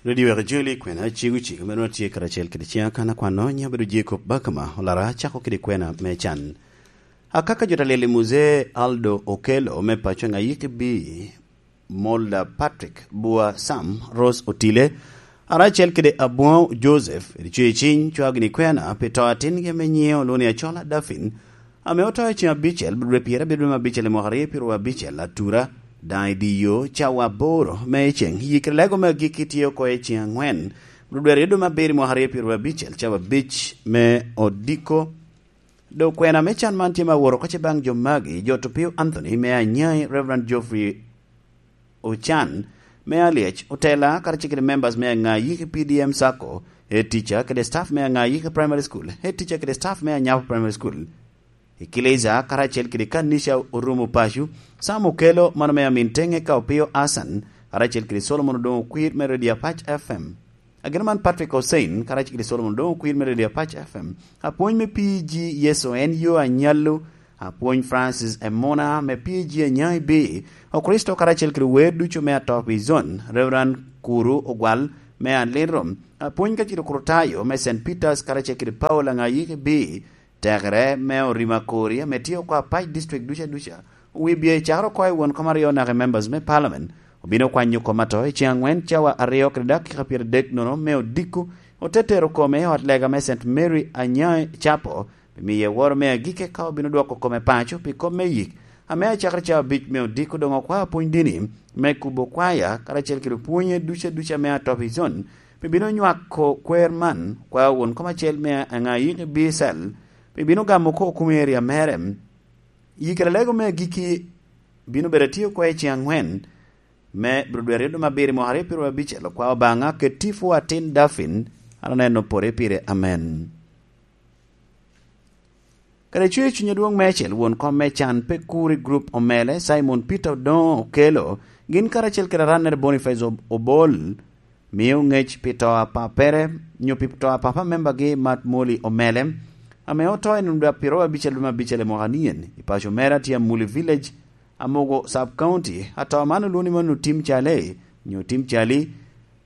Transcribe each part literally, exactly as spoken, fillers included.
Redio Wek Joli kwena cego cego me nwa tye karacel kede ciŋa kan akwano nyo bedo Jacob Bakama olara cako kede kwena me can. Akaka jo talyel i Muzee Aldo Okello me paco ŋa yik bi Molda Patrick Bua Sam Rose Otile, aracel kede Abwoŋo Joseph, edi cwe ciny cwagini kwena pi to atingi ame nyiŋe olwoŋo ni Acola Dafin, ame oto i ceŋ abicel, dwe pyerabiro me abicel i mwaka aryo pyeraryo abicel, atura, daŋ i diyo cawa aboro me ceŋ. Yikere lego me agikki tye oko i ceŋ aŋwen, dwe aryo dwe me abiro i mwaka aryo pyeraryo abicel, cawa abic me odiko. Dok kwena me can man tye ma woro oko ce baŋ jo magi, jo Topio Anthony me Anyai, Reverend Geoffrey Ocan me Alyec, Otela, karacel kede members me Aŋa Yiki P D M Sacco, head teacher kede staff me Aŋa Yiki Primary School, head teacher kede staff me Anyapo Primary School, Ekileja, karacel kede kanica orumo paco, Sam Okello, mano me Amin Teŋe ka Opio Asan, karacel kede Solomon Odoŋo Okwir me Radio Apac F M. Ageno man Patrick Hussein, karacel kede Solomon Odoŋo Okwir me Radio Apac F M. Apwony me P G Yeso en yo anyallo, Apwony Francis Emuna me P G Anyai B, Okristo karacel kede wer ducu me Atopi Zone, Reverend Kuru Ogwal me Aliro, Apwony ka cito Kurutayo me Saint Peters karacel kede Paul Aŋayiki B, tekere me orima kori ame tye oko apac district duca duca, owibye cakere oko i won kom aryo naka i members me parliament, obino kwanyo kom ato i ceŋ aŋwen cawa aryo kede dakika pyeradek nono me odiko, ote tero kome i ot lega me Saint Mary Anyai Chapel, pi miye woro me agike ka obino dwoko kome paco pi kop me yik, ame acakere cawa abic me odiko doŋ okwao pwony dini me kubo kwaya karacel kede pwonye duca duca me Atopi Zone, pi bino nywako kwer man, okwao won kom acel me Aŋayiki B Cell, pi bino gamo oko kumo area mere. Yikere lego me agikki bino bedo atye oko i ceŋ aŋwen me Brodwe aryo dwe me abiro i mwaka aryo pyeraryo abicel, okwao Obaŋa kede tipo atin Dafin, an aneno pore pire, amen. Kede cwer cuny adwoŋ meicel, won kom me can pe kur i grup omele, Simon Peter Odoŋo Okello, gin karacel kede arannere Boniface Ob-, Obol, mio ŋec pi to a papere, nyo pi to a papa membagi Mat Moli Omele, ame oto i nino dwe apiro abicel dwe me abicel i mwaka nien, i paco mere atye Amuli Village, Amogo Sub County. Ato man olwoŋo ni mano Tim Cale, nyo Tim Cali,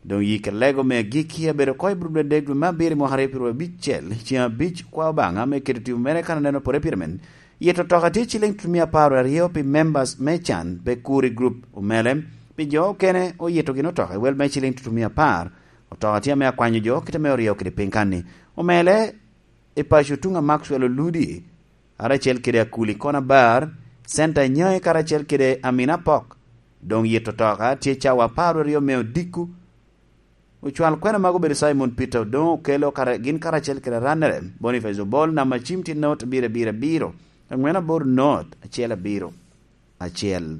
doŋ yik lego me agikki abedo oko i Brodwe adek dwe me abiro i mwaka aryo pyeraryo abicel, ceŋ abic kwa Obaŋa me keto tipo mere kan aneno pore pire men. Yet otoka tye ciliŋ tutumia apar aryo pi members me can pe kur i grup omele. Pi jo okene oyito gin otoka i wel me ciliŋ tutumia apar. Otoka tye ame akwanyo jo kite me oryo kede piny kanni. Omele i paco tuŋ a Maxwell Oludi, karacel kede Akuli Konabar, Center Nyai karacel kede Amina Pok. Doŋ yet otoka tye cawa apar aryo me odiko. Ocwal kwena mago obedo Simon Peter Odoŋo Okello kara-, gin karacel kede arannere, Boniface Obol, namba cim tye not abiro abiro abiro, aŋwen aboro not, acel abiro, acel.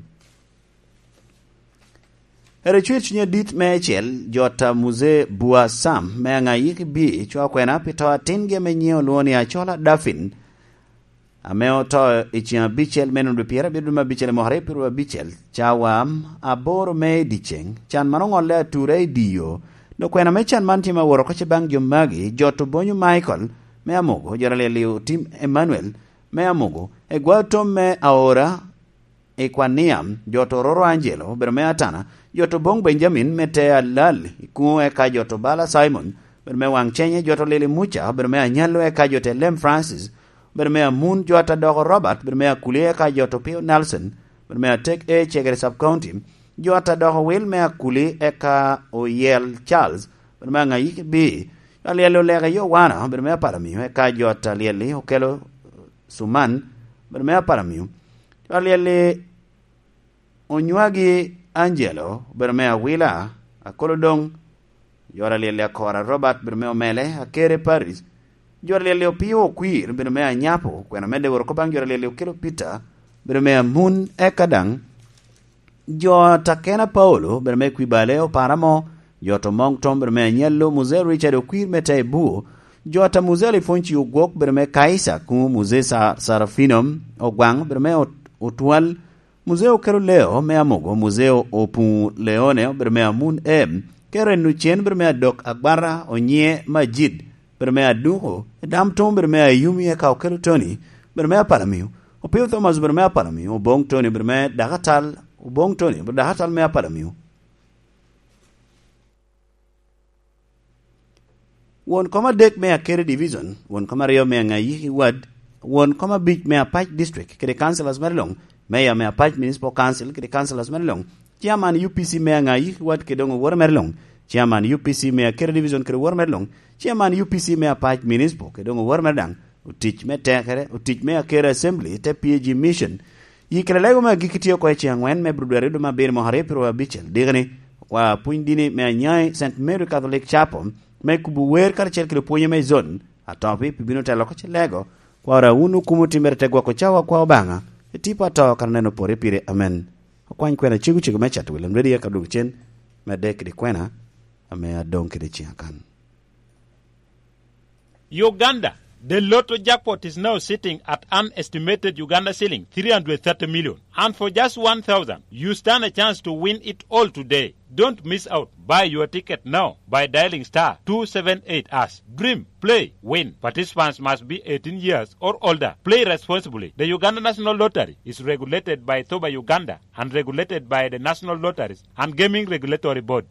Ere cwer cuny adit me acel, jot a Muzee Bua Sam, me Aŋayiki B, cwa kwena pi to atingi ame nyiŋe olwoŋo ni Acola Dafin, ame oto i ceŋ abicel me nino dwe pyerabiro dwe me abicel i mwaka aryo pyeraryo abicel, cawa aboro me i dyeceŋ. Can man oŋolle atura i diyo. Dok kwena me can man tye ma woro oko ce baŋ jo magi, jot Obonyo Michael me Amogo, jot alyel i Otim Emmanuel me Amogo, egwa tom me Aora i Kwania, jot Ororo Angelo, obedo me Atana, jot Oboŋ Benjamin me te Alal i Kuŋo, eka jot Obala Simon, obedo me Waŋ Cenye, jot Olili Muca, obedo me Anyallo, eka jot Elem Francis, obedo me Amun, jot Adoko Robert, obedo me Akuli, eka jot Opio Nelson, obedo me Atek A Cegere Sub County, jot Adoko Wil me Akuli, eka Oyel Charles, obedo me Aŋayiki B, jot Alyel Oleke Yowana, obedo me Apalamio, eka jot Alyel-li Okello Suman, obedo me Apalamio, jot Alyel-li Onywagi Angelo, obedo me Awila, Akolodoŋ, jot Alyel-li Akora Robert, obedo me Omele, Akere Paris, jot Alyel-li Opio Okwir, obedo me Anyapo, kwena medde woro oko baŋ jot Alyel-li Okello Peter, obedo me Amun, eka daŋ jot Akena Paulo, obedo me Kwibale, Opara Mo, jot Omoŋ Tom, obedo me Anyallo, Muzee Richard Okwir me Taibuo, jot a Muzee Alifonci Ogwok, obedo me Kaisa, Kuŋo, Muzee Sa-, Sarafino Ogwaŋ, obedo me Ot-, Otwal, Muzee Okello Leo me Amogo, Muzee Opuŋo Leone, obedo me Amun M, Karen Ocen, obedo me Adok Agwara, Onyiŋe Majid, obedo me Aduko, Dam Tom, obedo me Ayumi, eka Okello Tony, obedo me Apalamio, Opio Thomas, obedo me Apalamio, Oboŋ Tony, obedo me Dakatal, Oboŋ Tony, obedo Dakatal me Apalamio. Won kom adek me Akere Division, won kom aryo me Aŋayi Ward, won kom abic me Apac District kede councillors mere luŋ, mayor me Apac Municipal Council kede councillors mere luŋ, chairman U P C me Aŋayi Ward kede doŋ owote mere luŋ, chairman U P C me Akere Division kede owote mere luŋ, chairman U P C me Apac Municipal kede doŋ owote mere daŋ, otic me tekere, otic me Akere Assembly, te P A G Mission. Yi kede lego me agikki tye oko i ceŋ aŋwen me Abril dwe aryo dwe me abiro mwaka aryo pyeraryo abicel. Dikeni, okwa pwony dini me Anyai Saint Mary Catholic Chapel me kubo wer karacel kede pwonye me zon, atopi pi bino telo oko ce lego, kwara wun okumo timmere te gwoko cawa kwa Obaŋa, i tipo ato kara neno pore pire. Amen. Okwany kwena cego cego me Chat William Ready aka dwogo cen, me adek kede kwena, ame adoŋ kede ciŋ akan. Uganda, the lotto jackpot is now sitting at an estimated Uganda shilling three hundred thirty million. And for just one thousand, you stand a chance to win it all today. Don't miss out. Buy your ticket now by dialing star two seven eight hash. Dream, play, win. Participants must be eighteen years or older. Play responsibly. The Uganda National Lottery is regulated by Thoba Uganda and regulated by the National Lotteries and Gaming Regulatory Board.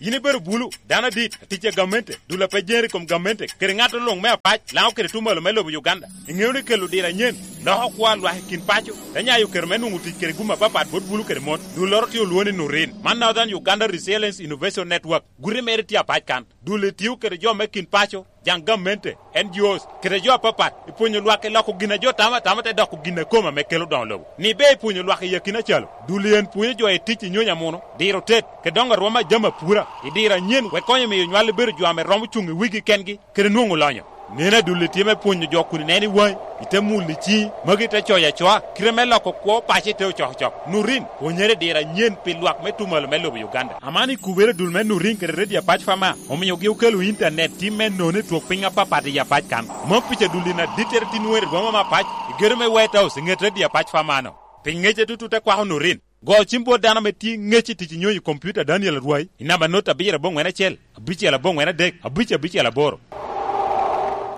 Yin ibedo bulu, dano adit, atic a gamente, dul a pe jeri i kom gamente, kede ŋat luŋ me apac, Laŋo kede tuŋ malo me lobo Uganda. Iŋeo ni kelo diro anyen loko kwo a lwak i kin paco, te nyayo kero me nwoŋo tic kede gum apapat bot bulu kede mon. Dulloro tye olwoŋo ni Nurin. Man Northern Uganda Resilience Innovation Network. Guti mere tye apac kan. Dul-li tio kede jo me kin paco, jaŋ gamente, N G Os, kede jo apapat, i pwonyo lwak i loko gin a jo tamo atama te doko gin a kome ame kelo doŋo lobo. Ni ber i pwonyo lwak i akina calo, dul-li en pwonyo jo i tic i nyonyo amuno, diro tet, kede doŋo arwom a jami apura, i diro anyen, wek konyo miyo nywal bedo jo ame romo cuŋ i wigi kengi, kede nwoŋo lonyo. Neno a dul-li tye me pwonyo jo kun ineno i waŋi, ite mulo i ciŋi, magi te coyo acoa, kite me loko kwo paco ite ocokocok. Nurin, pwonyere i diro anyen pi lwak me tuŋ malo me lobo Uganda. Aman i kubere dul me Nurin kede Radio Apac Fama, omiogi okelo intanet tim me nono i twok piny apapat i apac kan. Mom pica dul in adittere tin weri rwoma me apac, i gedo me White House i ŋet Radio Apac Fama-no. Pi ŋece tutu te kwako Nurin. Go cim bot dano ame tye ŋec i tic i nyonyo i kompiuta Daniel Arwai, i namba not abiro aboŋwen acel, abicel aboŋwen adek, abic abicel aboro.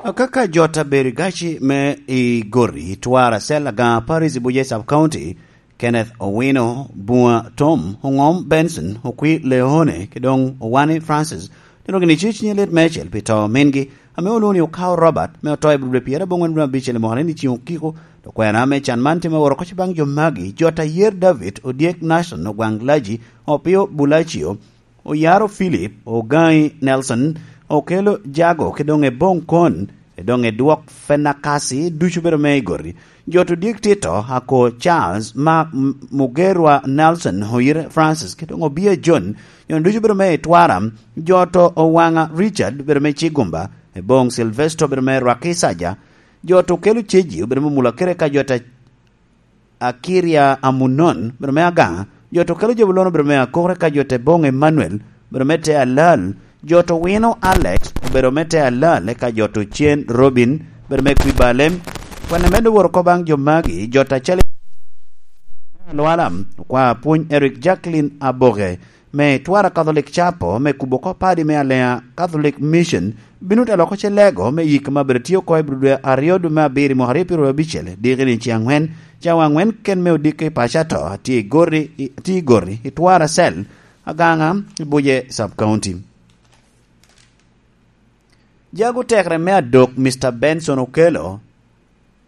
Akaka jot abedo i gaci me i Gori, Twara, Cell Agaŋa Parish i Buje Sub County, Kenneth Owino, Bua Tom, Oŋom Benson, Okwi Leone, ki doŋ Owani Francis, tino gini ci cinye lit mecel pi to mingi, ame olwoŋo ni Okawo Robert, me oto i Abril pyerabongwen dwe abicel i mwaka ni ciŋ okiko. Okwena me can man tye me woro koc baŋ jo magi, jot ayer David, Odyek Nashon, Ogwaŋ Laji, Opio Bulacio, Oyaro Philip, Ogaŋi Nelson, Okelo Jago, ki doŋ Eboŋ Kon, ki doŋ Edwok Fenakasi, ducu bedo me i Gori. Jot Odyek Tito, Ako Charles, Mark M-, Mugerwa Nelson, Oyire Francis, ki doŋ Obia John, jo ducu bedo me i Twara. Jot Owaŋa Richard, bedo me Cigumba, Eboŋ Silvesto, bedo me Rwaki Saja, jot Okelo Ceji, bedo me Mulakere ka jot a-, Akiria Amunon, bedo me Agaŋa, jot Okelo Jabulono, bedo me Akore ka jot Eboŋ Emmanuel, bedo me Te Alal, jot Owino Alex, obedo me Te Alal, eka jot Ocen Robin, bedo me Kwibalem. Kwene medo woro ko baŋ jo magi, jot acel Alwala, okwa pwony Eric Jacqueline Aboke, me Twara Catholic Chapel, me kubo oko padi me Alea Catholic Mission, bino te loko ce lego me yik ma bedo tye oko i Abril dwe aryo dwe me abiro i mwaka aryo pyeraryo abicel, diki ni ci aŋwen, cawa aŋwen ken me odiko i paco ato, atye i Gori, i, atye i Gori, i Twara Cell, Agaŋa, i Buje Sub County. Jago tekere me adok, Mister Benson Okelo,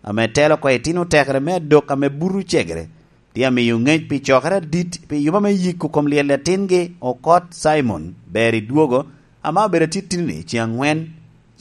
ame telo oko i tino tekere me adok ame buto cegere, tye amiyo ŋec pi cokere adit pi yuba me yiko kom lyel atingi Okot Simon, ber i dwogo, ame obedo atitini-ni ci aŋwen,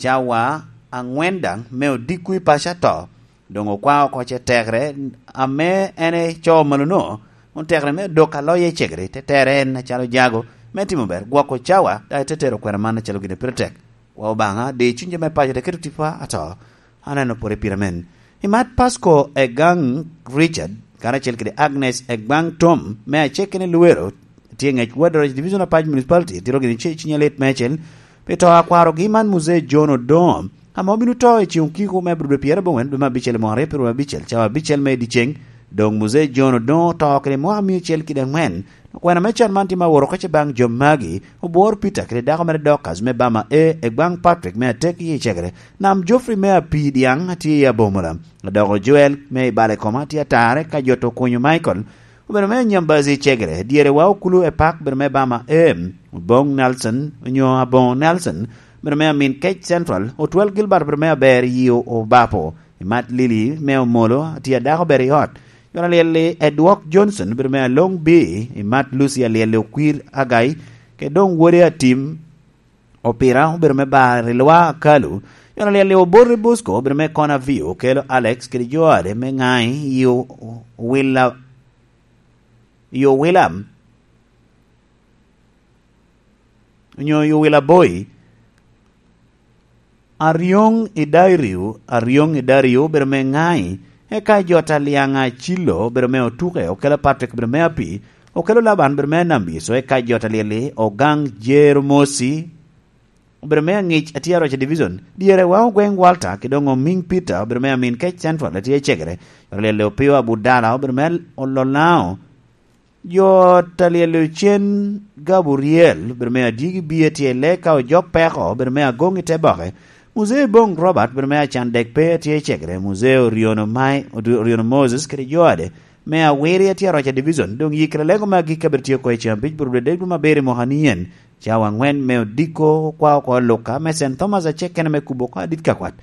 cawa aŋwen daŋ me odiko i paco ato, doŋ okwa oko ce tekere ame en ecoo malo-no, won tekere me adok aloye i cegere, te tere en acalo jago me timo ber, gwoko cawa, daŋ te tero kwena man acalo gin a pire tek. Wa Obaŋa, di cuny jo me paco te keto tipo ato, aneno pore pire men. I mat Pasco Egang Richard, karacel kede Agnes Egbang Tom, me aceke ni Luwero, tye ŋec Wadroc Division Apac Municipality, tiro gini ce-, cinye lit mecel, pi to akwarogi man Muzee John Odongo, ame obino to i ceŋ okiko me Abril dwe pyerabongwen dwe me abicel i mwaka aryo pyeraryo abicel, cawa abicel me dyeceŋ, doŋ Muzee John Odongo oto kede mwaka mia acel kede aŋwen, Okwena me can man tye ma woro oko ce baŋ jo magi, obworo Peter kede dako mere Dorcas me Bama A, Egbaŋ Patrick me Atek i Ecegere, Nam Geoffrey me Apii Dyaŋ atye i Abomola, Adoko Joel me i Balekoma tye atare ka jot Okunyo Michael, obedo me Nyambazi Ecegere, dyere wa Okulu Epak obedo me Bama A, Oboŋ Nelson, onyo Aboŋo Nelson, obedo me Amin Kec Central, Otwal Gilbert obedo me Aber i Obapo, i Mat Lili me Omolo, atye adako obedo i ot. Jona Lyelli Edwok Johnson obedo me Along B, i Mat Lucy Alyelli Okwir Agai, kede doŋ wode Atim Opira obedo me Bar i Lwa Akalu. Jona Lyelli Oboti Bosco obedo me Kona Vio, Okelo Alex kede jo ade me Ŋai i O-, Owila, i Owila, onyo i Owila Boy. Aryoŋ i Dairiu, Aryoŋ i Dairiu obedo me Ŋai, eka jo Taliaŋ Acilo obedo me Otuke, Okelo Patrick obedo me Api, Okelo Laban obedo me Anambiso, eka jo Talyelli Ogaŋ Jeromosi obedo me Aŋic, atye Aroca Division, dyere wa Ogweŋ Walter, kede doŋ Omiŋ Peter obedo me Amin Kec Central, atye Cegere, Talyelli Opio Abudala obedo me Ololao, jo Talyelli Ocen Gabriel obedo me Adyegi Bie, tye Leka Ojok Peko obedo me Agoŋ i Teboke, Muzee Boŋ Robert obedo me Acan Dek Pe, atye Cegere, Muzee Oryono Mai, Oryono Moses kede jo ade me Awiri, atye Aroca Division, doŋ yikere lego me agikki abedo tye oko i Cambridge, Burudedeg dwe me abiro i mwaka ni en, cawa aŋwen me odiko, kwa oko Luka, me Saint Thomas acel kene me kubo oko adit ka kwat.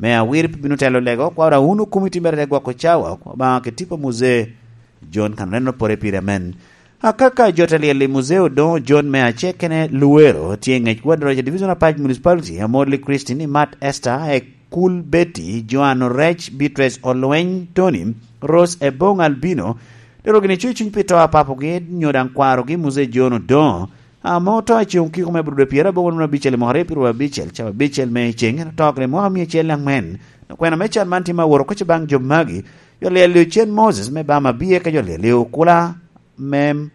Me Awiri pi bino telo lego, kwa Raun okumi timmere te gwoko cawa, kwa Obaŋa kede tipo Muzee John Kanreno pore pire amen. Akaka jo Talyelli Muzee Odoŋo John me acel kene Luwero, tye i ŋec Ward Roger Division Apac Municipality, Amorli Christine, Imat Esther, Ekul Betty, Joan Orec, Beatrice Olweny, Tony, Rose Ebong Albino, dero gini cuny cuny pi to a papogi, nyo daŋ kwarogi Muzee John Odoŋo, ame oto i ceŋ okiko me Aburude pyeraboro wunu abicel i mwaka aryo pyeraboro abicel, cawa abicel me ceŋ, en oto kede mwaka mia acel aŋwen. Kwena me can man tye me aworo koc baŋ jo magi, jo Lyelli Ocen Moses me Bama Bie, ka jo Lyelli Okula me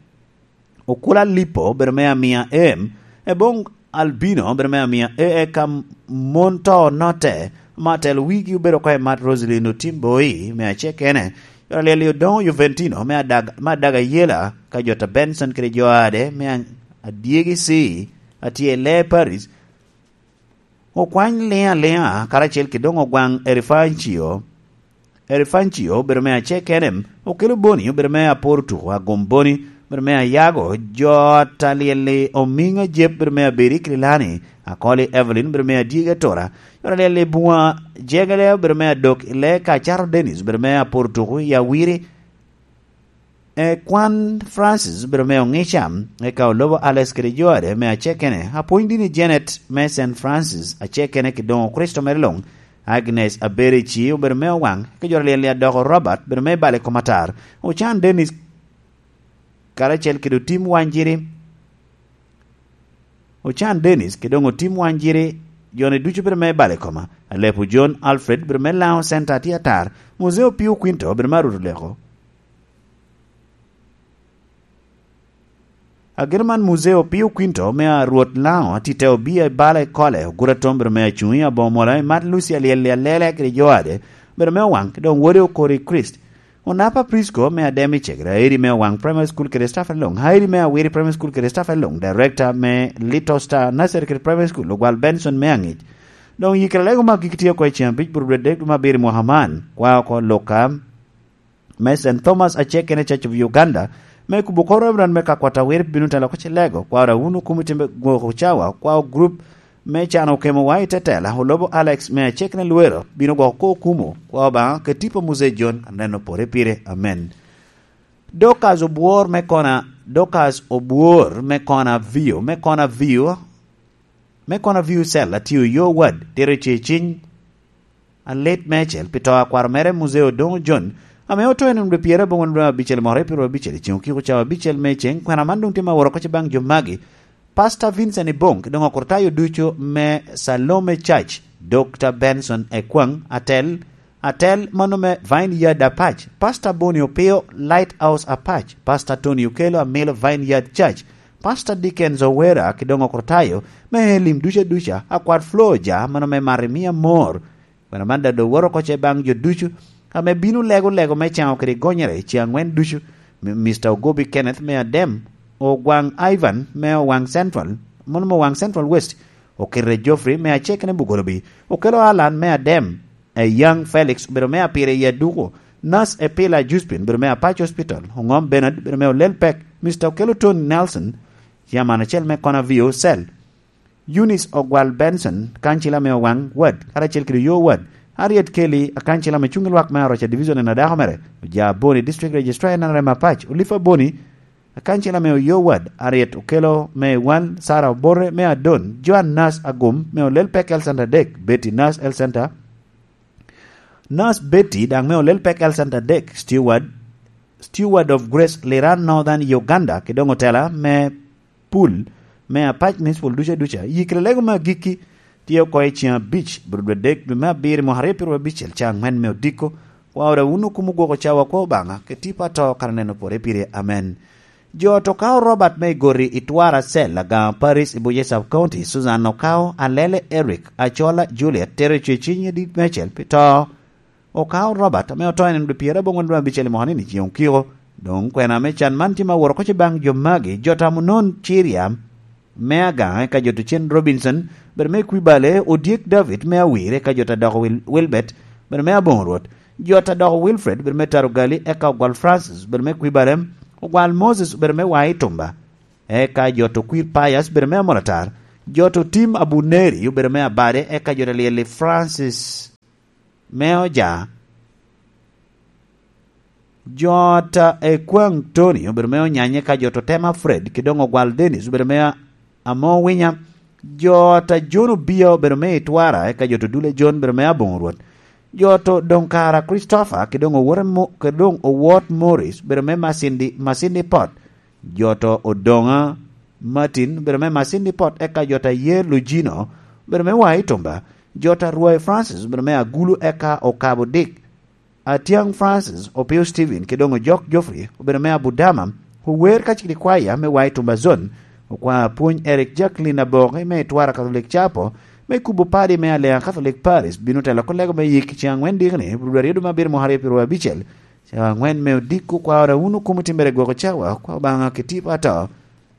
Okula Lipo obedo me Amia M, Ebong Albino obedo me Amia A, eka mon to onotte, ma telo wigi obedo oko i Mat Roselyn Otim Boi me acel kene, jo Lyelli Odoŋo Juventino me Adaga, me Adaga Yela, ka jo ta Benson kede jo ade me Adyegi C, atye i Lee Paris, Okwany Liŋ Aliŋa, karacel kede doŋ Ogwaŋ Erifancio, Erifancio obedo me acel kene, Okelo Boni obedo me Aporo Tuko, Agom Boni obedo me Ayago, jo ta Lyelli Omiŋ Ajep obedo me Abedi Kililani, Akoli Evelyn obedo me Adyegi Atura, jo ta Lyelli Buŋa Jegele obedo me Adok i Lee, ka Acato Dennis obedo me Aporo Tuko i Awiri, E, kwan Francis obedo me Oŋica, eka Olobo Alex kede jo ade me acel kene, apwony dini Janet me Saint Francis acel kene, kede doŋ Okricito mere luŋ, Agnes Aberici obedo me Owaŋ, eka jo Lyelli Adoko Robert obedo me Bale Komatar, Ocan Dennis karacel kede Otim Wanjiri, Ocan Dennis, kede doŋ Otim Wanjiri, jo-ni ducu bedo me Bale Koma, Alepo John Alfred bedo me Laŋo Center atye atar, Muzee Opio Quinto bedo me Arut Oleko. Ageno man Muzee Opio Quinto me Arwot Laŋo atite obia i bala i Kole, Ogura Tom bedo me Acuŋi, Aboŋo Mola, Imat Lucy Alyel Alela kede jo ade bedo me Owaŋ, kede doŋ wode Okori Christ. Onapa Prisco me Ademi Cegere, Aeri me Owaŋ Primary School kede staff along, Aeri me Awiri Primary School kede staff along, Director me Little Star Nursery kede Primary School, Ogwal Benson me Aŋic. Doŋ yikere lego me agikki tye oko i ceŋ abic, Burubdwe dek dwe me abiro i mwaka man, kwa oko Luka me Saint Thomas acel kene Church of Uganda, me kubo kor Reverend me Kakwat Awiri bino telo oko Cilego, kwa Rawuno Kumiti me Gwoko Cawa, kwa group me can okemowa i tetela, Olobo Alex me acek ne Lwero, bino gwoko ko okumo, kwa Obaŋa kede tipo Muzee John, aneno pore pire. Amen. Dorcas Obwor me Kona, Dorcas Obwor me Kona Vio, me Kona Vio, me Kona Vio Cell, atio yo wad, tero ce ciny, alit meicel, pi to a kwaro mere Muzee Odoŋo John, ame oto i nino dwe pyeraboro dwe abicel mwaka aryo pyerabicel, i ceŋ okiko cawa abicel me ceŋ, kwena man doŋ tye me aworo oko baŋ jo magi, Pastor Vincent Ibong, kede doŋ okrutayo ducu me Salome Church, Doctor Benson Ekwaŋ, atel, atel mano me Vineyard Apac, Pastor Boni Opio, Lighthouse Apac, Pastor Tony Okello, Amilo Vineyard Church, Pastor Dickens Owera, kede doŋ okrutayo me Elim ducu aduca, akwat Floja, mano me Marimia Mor, Kwena man daŋ doŋ woto oko ce baŋ jo ducu ame bino lego lego me caŋo kede gonyere i ce aŋwen ducu, mi-, Mister Ogobi Kenneth me Adem, Ogwaŋ Ivan me Owaŋ Central, mano me Owaŋ Central West, Okirre Geoffrey me Acekene Bugolobi, Okelo Alan me Adem, e Young Felix obedo me Apire i Aduko, Nurse Epila Juspin obedo me Apac Hospital, Oŋom Bernard obedo me Olel Pek, Mister Okelo Tony Nelson, Chairman acel me Kona V O Cell. Eunice Ogwal Benson, kancila me Owaŋ Ward, karacel kede Oyo Ward, Harriet Kelly, akancila me cuŋ i lwak me Aroca Division en adako mere, Oja Boni, District Registrar en Arema Pac, Olifa Boni, akancila me Oyo Ward, Harriet Okelo me Iwan, Sarah Obote me Adon, Joan Nas Agum me Olel Pek Health Center adek, Betty Nas Health Center, Nas Betty daŋ me Olel Pek Health Center adek, Steward, Steward of Grace Liran Northern Uganda, kede doŋ otela me pul me Apac Municipal duca duca. Yikere lego me agikki tye oko i ceŋ abic, bur dwe adek, dwe me abiro, mwaka aryo pyeru abicel, ca aŋwen me odiko. Kwa ora wunu kum ogwoko cawa, kwa Obaŋa, ke tipo ato kara neno pore pire. Amen. Jo to kao Robert me igoti i Twara Cell, Agaŋa Parish i Buye Sub County, Susan Okao, Alele Eric, Acola Juliet, tero i cweciny i dit mecel pi to. Okao Robert, ame oto en dwe pyero aboŋwen dwe abicel i mwaka ni, ni ceŋ okiko. Doŋ kwena me can man tye ma woro koc i baŋ jo magi, jo tamo non Ciria me Agaŋa, eka jo to cen Robinson, bedo me Kwibale, Odyek David me Awir, eka jo ta doko Wil-, Wilbert, bedo me Aboŋo Rwot, jo ta doko Wilfred, bedo me Tarugali, eka Ogwal Francis, bedo me Kwibale, Ogwal Moses, bedo me Wai Tumba, eka jo to Kwir Pius, bedo me Amoratar, jo to Tim Abuneri, obedo me Abade, eka jo ta Lyeli Francis me Oja, jo ta Ekwaŋ Tony, obedo me Onyanye, eka jo to Tema Fred, kede doŋ Ogwal Dennis, obedo me Amo Winya, jo ta John Obia, obedo me Itwara, eka jo to Dule John, obedo me Aboŋo Rwot, jo to doŋ Kara Christopher, kede doŋ Owot Mo-, kede doŋ Owot Morris, obedo me Masindi, Masindi Pot, jo to Odoŋa Martin, obedo me Masindi Pot, eka jo ta Yer Lugino, obedo me Wai Tumba, jo ta Rwai Francis, obedo me Agulu, eka Okabo Dick, Atiaŋ Francis, Opio Stephen, kede doŋ Ojok Geoffrey, obedo me Abudama, ower kacel kede kwaya me Wai Tumba Zone, okwa apwony Eric Jacqueline Aboki me Itwara Catholic Chapel, me kubo padi me Aleŋa Catholic Parish, bino telo kolego me yik i ceŋ aŋwen dikni, rwod aryo dwe me abiro mwaka aryo pyeru abicel, ceŋ aŋwen me odiko, kwa ora wunu kum otimmere gwoko cawa, kwa Obaŋa kede tipo ato,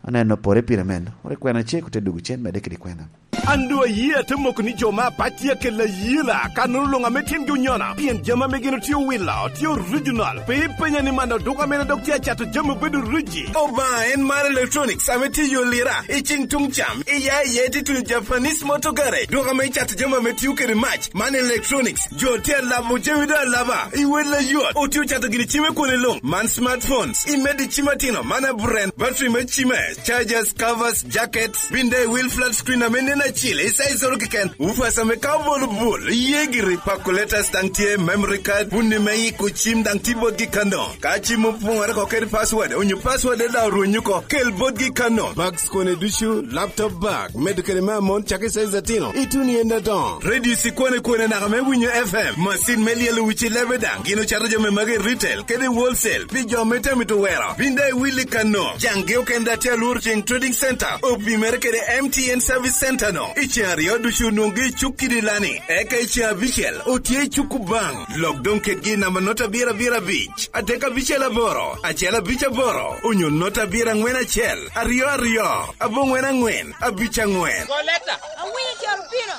aneno pore pire men, ori kwena cek ote dugu cen medde kede kwena. An doŋ aye ate moko ni jo me Apac tye akelo ayela, kannono luŋ ame timgi onyono, pien jami ame gin otye owilo tye original. Pe ipenya ni man oduka mene dok tye acato jami obedo riji. Obaŋa en mar Electronics ame tye i yo lira, i ceŋ tuŋ cam, i ya i ya ite tuno Japanese Motor Garage, duka ame icato jami ame tio kede mac. Man Electronics, jo tye alabo jami doŋ alaba, i wel ayot, otye ocato gini cim i kwone luŋ. Man smartphones, imedo i cim atino, man aburen, battery me cime, chargers, covers, jackets, bin daŋ i wil flat screen ame nen acil, i size oro keken, woofers ame ka obolo bul, iye giri, calculators daŋ tye, memory card, bunni me yiko cim daŋ tye botgi kano. Ka cim opoŋere oko kede password, onyo password daŋ orwenyo oko, kel botgi kano. Bags kone ducu, laptop bag, medo kede me amon cako i size atino, ituno i en adoŋo. Radio cikwane kwane naka me winyo F M, macin me lyelo wici lebe daŋ, gin ocato jami magi i retail kede wholesale pi jo me tami tuwero. Bin daŋ iwil i kano, caŋgi okene daŋ tye alworo ceŋ Trading Center, opimere kede M T N Service Center no. I ceŋ aryo ducu onwoŋgi i cuk kidi lani, eka i ceŋ abicel otye i cuk Obaŋ. Lok doŋ kedgi i namba not abiro abiro abic, adek abicel aboro, acel abic aboro, onyo not abiro aŋwen acel, aryo aryo, aboŋwen aŋwen, abic aŋwen. Go leta. Awinyo caro pino.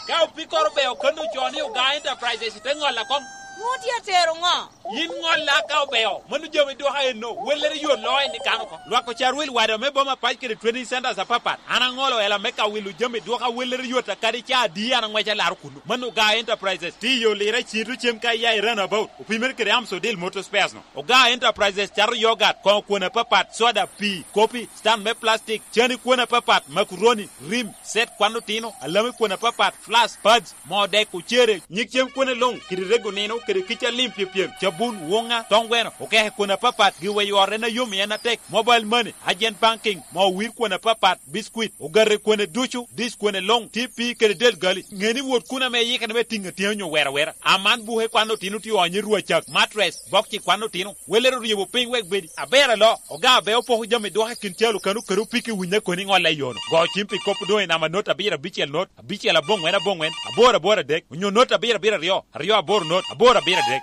Ka opikoro beo kano co ni Oga Enterprises, ite ŋolla koŋ. Nwoŋo tye atero ŋo? Yin ŋolla ka obeo, mano jami dwoka enno, wellere yot loo en i kano ko. Lwak ocar wil wada me boma pac kede training centers apapat. An aŋolo ela me ka wilo jami dwoka wellere yot a kadi ca adi an aŋweco alaro kuno. Mano Oga Enterprises, tye i yo lira cito cem ka iya i runabout. Opimere kede Amsodil Motor Spares no. Oga Enterprises cato yogat, koŋo kwon apapat, soda, pii, kopi, stand me plastic, cani kwon apapat, macaroni, rim, set kwan otino, alami kwon apapat, flask, pads, moo dek, ocere, nyig cem kwone luŋ, kede rego nino, kede kica lim pyepyem, cabun, woŋa, toŋ gweno, okeke kwon apapat, giweyo ot en a yom i en atek, mobile money, agent banking, moo wir kwon apapat, biscuit, ogate kwone ducu, dish kwone luŋ, T P kede del gali. Ŋe ni wot kun ame iyikere me tiŋ atyeni onyo wero awera. Aman buke kwan otino tye onyo i rwacak, mattress, bokci kwan otino, welere oryebo piny wek bedi. Aber alo, Oga Abeo poko jami dwoka i kin calo kano kede opiki winye koni ŋolle i yono. Go cim pi kop doŋ i namba not abiro abicel not, abicel aboŋwen aboŋwen, aboro aboro adek, onyo not abiro abiro aryo, aryo aboro not, aboro abiro adek.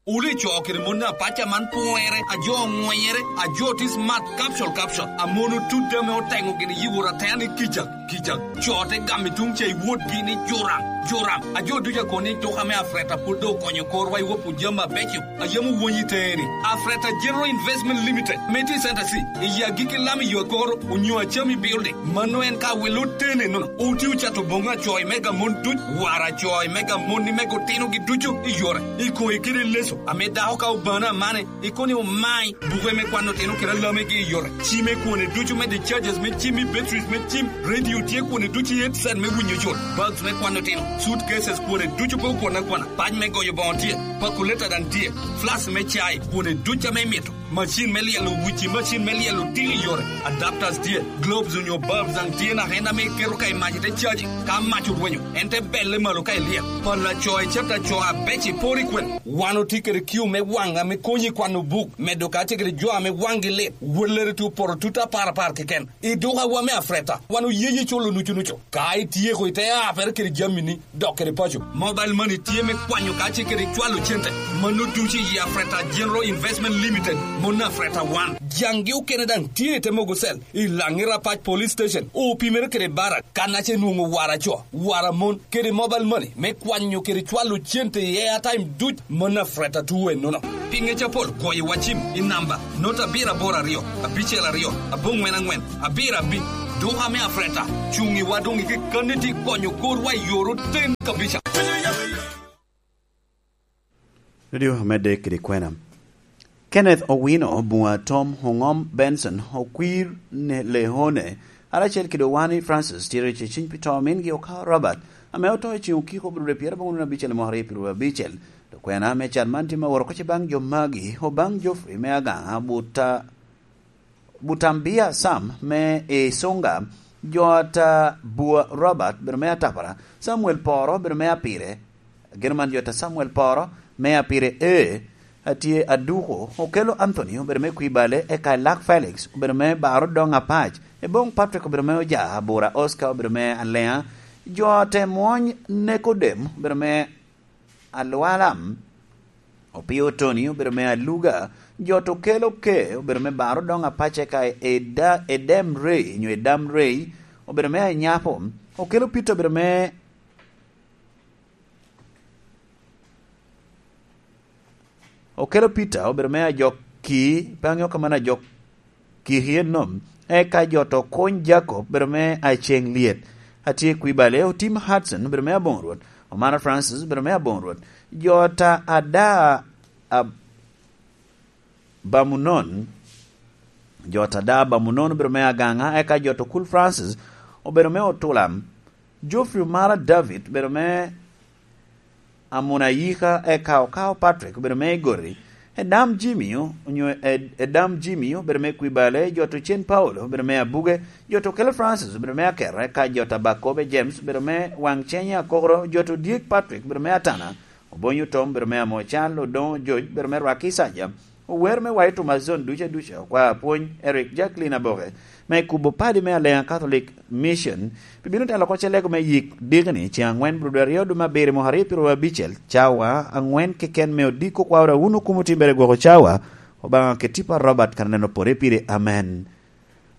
Wun ico kede mon apac a man pwonyere, a jo oŋwenyere, a jo tye smart, capsule, capsule, a mon otut ame oteŋo gin i yiwor atera ni kica, kica. Co te gamo i tuŋ ca i wotgi ni jura. Joram, a jo ducu akobo ni duka me Afreta pwod doŋ okonyo korwa i wap jami abeco a yam owony i teni. Afreta General Investment Limited, me tye i Center C, i agikki lam i yo akoro, onyo Acami Building. Mano en ka wilo tene nono. Oti ocato boŋo acoy mega mon duc, wara acoy mega moni mega otinogi ducu i yore, i koyi kede leso, ame dako ka obano amane, ikoni omai, buke me kwano tino kede alamegi i yore, cime kwone ducu me discharges me cim i batteries me cim, radio tye kwone ducu i headset me winyo jot, bags me kwano tino, suitcases kwone ducu pe okwana kwana, pac me goyo boŋo tye, pakuleta daŋ tye, flask me cai kwone ducu ame imito. Macin me lyelo wici, macin me lyelo tiki i yore, adapters tye, globes onyo bulbs daŋ tye naka en ame iketo ka i mac ite caji. Ka mac orwenyo, en te belle malo ka ilyel. Pala co icet aco abec i pori kwen. Wan otye kede kiu me waŋ ame konyi i kwano buk, medo ka tye kede jo ame waŋgi lit, wellere tye opoto tut apar apar keken. I dukawa me Afreta, wan oye yi culo nucu nucu. Ka ityeko ite apere kede jamini, dok kede paco. Mobile money tye me kwanyo ka ce kede cwalo cente. Mano ducu i Afreta General Investment Limited, mon Afreta wan. Jaŋgi okene daŋ tye i te mogo cell, i Laŋi Rapac Police Station, opimere kede barak, kan ace nwoŋo wara co, wara mon, kede mobile money me kwanyo kede cwalo cente i airtime duc, mon Afreta tuwe nono. Pi ŋec apol, kwoyo wacim i namba not abiro aboro aryo, abicel aryo, aboŋwen aŋwen, abiro abic. Duka me Afreta cuŋ i wa doŋ i kekkanni tye konyo korwa i oro ten kabica. Radio Amedde kede kwena. Kenneth Owino, Bunga Tom Oŋom Benson, Okwir ne Leone, aracel kede Owani Francis, tye rec i ciny pi to mingi Okawa Robert, ame oto i ceng okiko bro dwe pyerabongwen abicel mwaka aryo pyerabicel. Dok kwena me cat man tye ma woro koce baŋ jo magi, Obaŋ Geoffrey me Agaŋa, Buta Butambia Sam me Isunga, Jota Bua Robert, bedo me Atapara, Samuel Poro, bedo me Apire, geno man Jota Samuel Poro me Apire, e, atye Aduko, Okelo Anthony, obedo me Kwibale, eka Elak Felix, obedo me Baro Dong Apac, Ebong Patrick, obedo me Oja, Abura Oscar, obedo me Alea, Jota Mwony Nekodem, obedo me Alwalam, Opio Tony obedo me Aluga, Jot Okel Oke obedo me Baro Dong Apace ka Eda-, Edem Rey, nyo Edam Rey, obedo me Anyapo, Okel Opito obedo me, Okel Opita obedo me Ajok Ki, pe aŋeo ka mano Ajok Kiki ennom, eka jo to kuny Jacob, bedo me Aceŋ Lyet, atye Kwibale, Otim Hudson, bedo me Aboŋo Rwot, Omara Francis, bedo me Aboŋo Rwot, jo ta ada ab-, Bamunon, jo ta ada Bamunon, bedo me Agaŋa, eka jo to Kul Francis, obedo me Otulam, Geoffrey Omara David, bedo me Amuna Yika, eka Okao Patrick obedo me Igoti, Edam Jimmy, onyo Ed-, Edam Jimmy obedo me Kwibale, Jot Ocen Paulo obedo me Abuge, Jot Okelo Francis obedo me Akero, eka Jot Abakobe James obedo me Waŋ Ceny Akokoro, Jot Odyek Patrick obedo me Atana, Obonyo Tom obedo me Amocal, Odoŋo George obedo me Rwaki Saja, Ower me White Thomas Zone duca duca, Okwar Apwony, Eric Jacqueline Aboke, me kubo padi me Alea Catholic Mission, pi bino telo oko cellego me yik dikni, ceŋ aŋwen bro dwe aryo dwe me abiro mwaka aryo pyeraryo abicel, cawa aŋwen keken me odiko kwaro a wun okumo timbere gwoko cawa, Obaŋa keti pa Robert kan neno pore pire. Amen.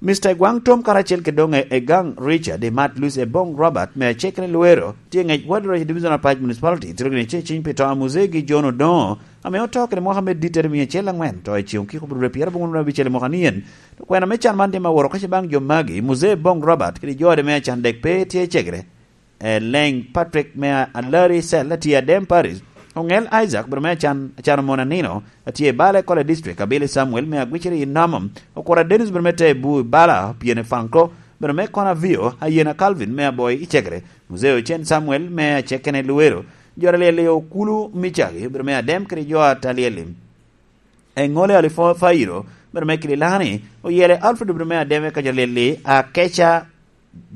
Mister Egwaŋ Tom karacel kede doŋ e-, Egaŋ Richard, Emat Lucy, Ebong Robert, me Acekere Luero, tye ŋec Ward Roch Division of Parish Municipality, tye gini ce ciny pi to a Muzee gi John Odoŋo, ame oto kede mwaka me dittere miya acel aŋwen, to i ceŋ okiko bro dwe pyerabongwen abicel i mwaka ni en. Dok kwena me can man tye ma woro kace baŋ jo magi, Muzee Ebong Robert, kede jo ode me acan dek pe tye i cegere. Eleŋ Patrick me a-, Alari Cell, atye Adem Parish. Oŋel Isaac, bro me acan, acan omon anino, atye i Bala College District, Abili Samuel me Agwiciri i Nomo. Okura Dennis, bro me Tebu i Bala, Piene Franco, bro me Kona Vio, Ayena Calvin me Aboi i Cegere. Muzee Ocen Samuel me Acekene Luero. Jo Alyel i Okulu Micagi, bro me Adem kede jo Atalyel. Eŋole Alifo Fairo, bedo me Kililani, Oyele Alfred, bedo me Ademe ka jo Lili, Akeca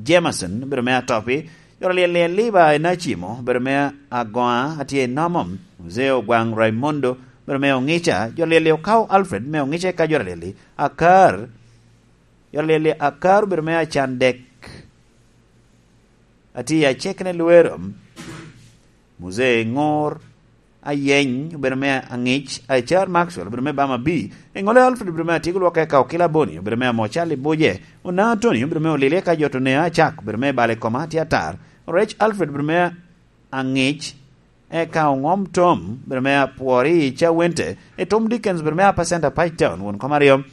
Jameson, bedo me Atopi, jo Lili Liba Enacimo, bedo me Agoa, atye i Nomo, Muzee Ogwaŋ Raimondo, bedo me Oŋica, jo Lili Okao Alfred, me Oŋica ka jo Lili, Akar, jo Lili Akar, bedo me Acan Dek, atye i Acekene Luero, Muzee Ŋor, Ayeny, obedo me Aŋic, Acar Maxwell, obedo me Bama B, Eŋole Alfred, obedo me Atyeko Lwok eka Okila Boni, obedo me Amocal i Buje, Onaŋ Atoni, obedo me Olili eka jo Tonea Acak, obedo me Bala i Koma, tye atar, Orec Alfred, obedo me Aŋic, eka Oŋom Tom, bedo me Apwori i Cawente, i Tom Dickens, bedo me Apacenta Page Town, won kom aryo.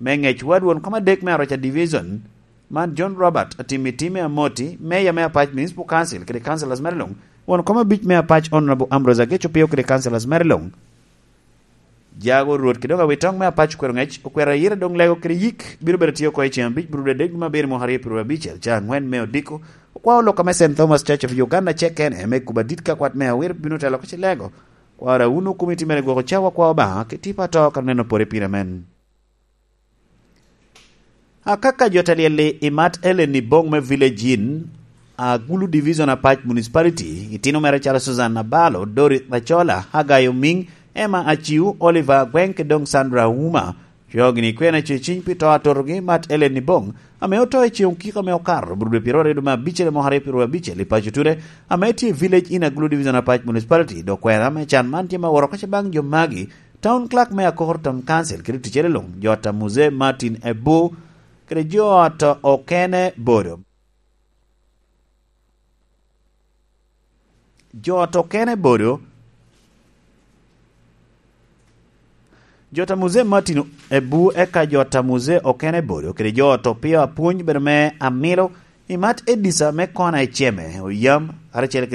Me Ŋec Wad, won kom adek me Aroca Division, man John Robert Atim i Tim me Amoti, Meya me Apac Municipal Council kede Councilors mere luŋ, won kom abic me Apac Honorable Ambrose Ageco Pio kede Councilors mere luŋ. Jago Rwot kede doŋ awitoŋ me Apac okwero ŋec, okwero ayira doŋ lego kede yik bino bedo tye oko i ceŋ abic bro dede dwe me abiro mwaka aryo pyeru abicel, ca aŋwen me odiko. Okwao lok ame Saint Thomas Church of Uganda cek en eme kuba dit ka kwat me awiro bino telo oko ci lego. Kwara wunu komiti mere gwoko cawa kwa Obaŋa ki tipo ato ka neno pore pire men. Akaka jo te lyel-li i Mat Ellen i boŋ me Village Inn, Agulu Division Apac Municipality, itino mere calo Susan Abalo, Dorothy Macola, Hagai Omiŋ, Emma Aciu, Oliver Agweŋ, kede doŋ Sandra Ouma, coo gini kwena ceciny pi to atotogi Mat Ellen i boŋ, ame oto i ceŋ okiko ame okato, bro dwe pyeru aryo dwe me abicel i mwaka aryo pyeru abicel i paco Ture, ame tye i Village Inn Agulu Division Apac Municipality, dok kwena me can man tye ma woro oko baŋ jo magi, Town Clerk me Akoko Town Council kede ticere luŋ, jo ata Muse Martin Ebu, kede jo ata okene bodo. Jo ata okene bodo. Jo ata Muse Martin Ebu, eka jo ata Muse okene bodo, kede jo ata Opio Apwony bedo me Amilo, i Mat Edisa me Kona i Ceme, Oyam, karacel